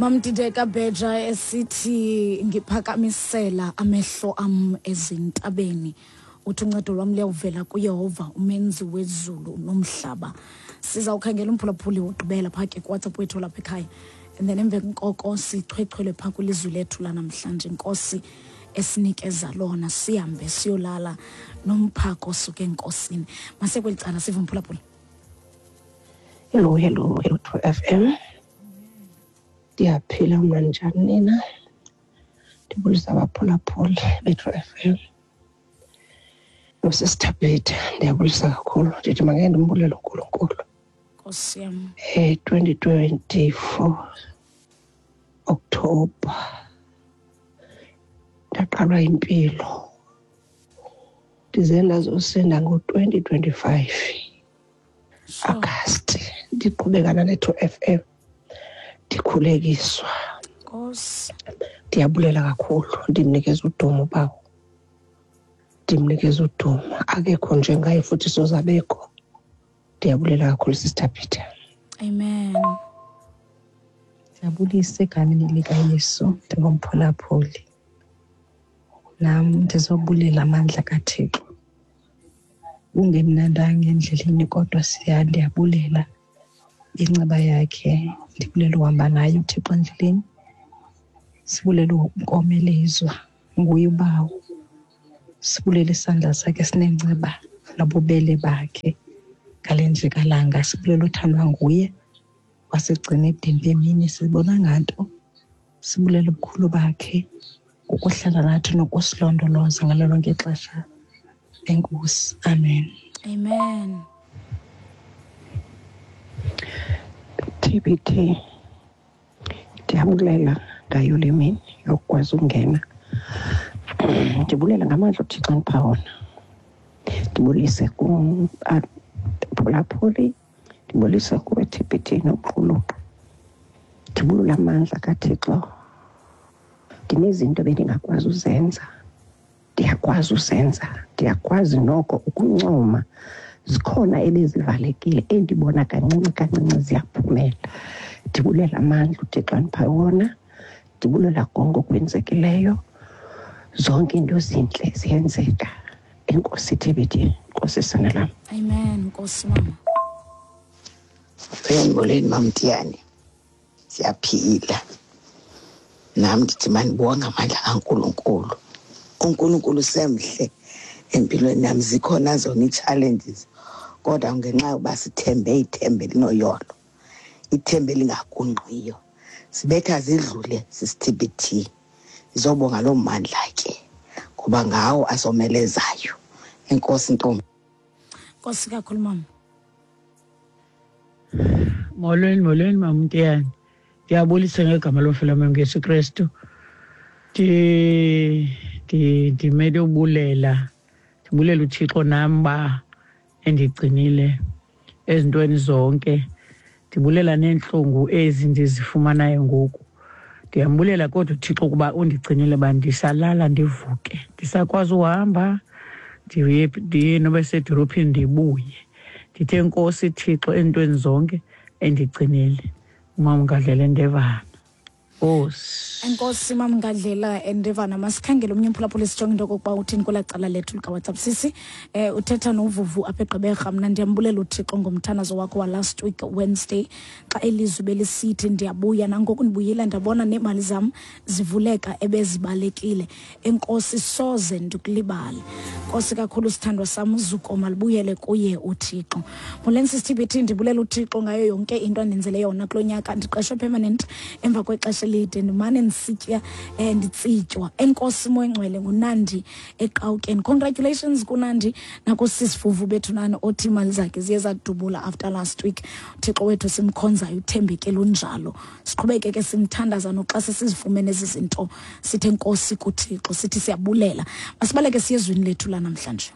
Mamdideka Bheja esithi ngiphakamisela amehlo am ezintabeni. Uthi uncedo lwam luyawuvela kuYehova umenzi wezulu nomhlaba. Sizawukhangela umphulaphuli wokugqibela phaa ke kuWhatsApp wethu lapha ekhaya. And then emveni koko sichwechwele phaa kwilizwi lethu lanamhlanje. Nkosi esinikeza lona sihambe siyolala nomphako osuke enkosini. Masekweli cala sive umphulaphuli. Hello, hello, hello to FM. Ndiyaphila mna njani nina? Ndibulisa abaphulaphuli bethu FM. Nosista Peter, ndiyabulisa kakhulu. Ndithi makhe ndimbulele uNkulunkulu. Nkosi yam. 2024 October ndaqalwa impilo. Ndize ndazosinda ngo-2025 August ndiqhubekana ne-2 FM ndikhulekiswa. Nkosi. Ndiyabulela kakhulu, ndimnikeza udumo bawo. Ndimnikeza udumo, akekho njengaye futhi sozabekho. Ndiyabulela kakhulu Sister Peter. Amen. Ndiyabulisa egameni likaYesu, ndingumphulaphuli. Nam ndizobulela amandla kaThixo. Kungemnandanga endleleni kodwa ndiyabulela inceba yakhe. Ndibulela uhamba naye uThixo endleleni. Sibulela ukomelezwa nguye uBawo. Sibulela isandla sakhe sinenceba nobubele bakhe ngale njikalanga. Sibulela uthandwa nguye wasigcina ebudeni bemini sibonanga nto. Sibulela ubukhulu bakhe ngokuhlala nathi nokusilondoloza ngalo lonke ixesha. Enkosi. Amen. Amen. TBT, ndiyabulela ngayo le mini yokukwazi ukungena. Ndibulela ngamandla uThixo andipha wona. Ndibulise kubaphulaphuli, ndibulise kuwe TBT noquluqa. Ndibulela amandla kaThixo. Ndinezinto bendingakwazi uzenza, ndiyakwazi uzenza, ndiyakwazi noko ukuncoma. Zikhona ebezivalekile endibona kancinci kancinci ziyaphumela. Ndibulela amandla uThixo andipha wona, ndibulela konke okwenzekileyo. Zonke into zintle ziyenzeka. Enkosi TBT, Nkosi sana lam. Amen, Nkosi mama. Molweni Mamtiyane, siyaphila. Nam ndithi mandibonge amandla kaNkulunkulu. UNkulunkulu semhle empilweni yam. Zikhona zona ii-challenges, kodwa ngenxa yokuba sithembe ithemba elinoyolo, ithemba elingagungqiyo, sibetha zidlule sisi-TBT. Ndizobonga loo mandla ke, ngoba ngawo asomelezayo. Enkosi ntombi. Nkosi kakhulu mama. Molweni, molweni Mamtiyane. Ndiyabulisa ngegama lomfela Yesu Kristu. Ndimele ubulela. Ndibulela uThixo nam ba endigcinile ezintweni zonke. Ndibulela neentlungu ezi ndizifumanayo ngoku. Ndiyambulela kodwa uThixo ukuba undigcinile ba ndisalala ndivuke. Ndisakwazi uhamba ndiye noba sedolophini ndibuye. Ndithe Nkosi Thixo ezintweni zonke endigcinile. Umama Ngadlela Ndevana. Nkosi. Enkosi Mama Ngadlela Ndevana. Masikhangele omnye umphulaphuli sijonge into okokuba uthini kwelaa cala lethu likaWhatsApp. Sisi, uthetha noVuvu apha eGqeberha. Mna ndiyambulela uThixo ngomthandazo wakho wa last week Wednesday xa elizwi belisithi ndiyabuya. Nangoku ndibuyile ndabona neemali zam zivuleka ebezibalekile. Enkosi, soze ndikulibale. Nkosi kakhulu sithandwa sam, uzuko malibuyele kuye uThixo. Molweni sisi TBT, ndibulela uThixo ngayo yonke into andenzele yona kulo nyaka. Ndiqeshwe permanent emva kwexesha elide, ndimane ndisitya, nditsitywa. Enkosi Moya Ngcwele, nguNandi eQawukeni. Congratulations kuNandi nakusisi Vuvu bethu nani othi imali zakhe ziye zadubula after last week. uThixo wethu simkhonzayo uthembekile unjalo. Siqhubeke ke simthandaza noxa sesizifumene ezi zinto, sithe Nkosi kuThixo, sithi siyabulela. Masibaleke siye ezwini lethu lanamhlanje.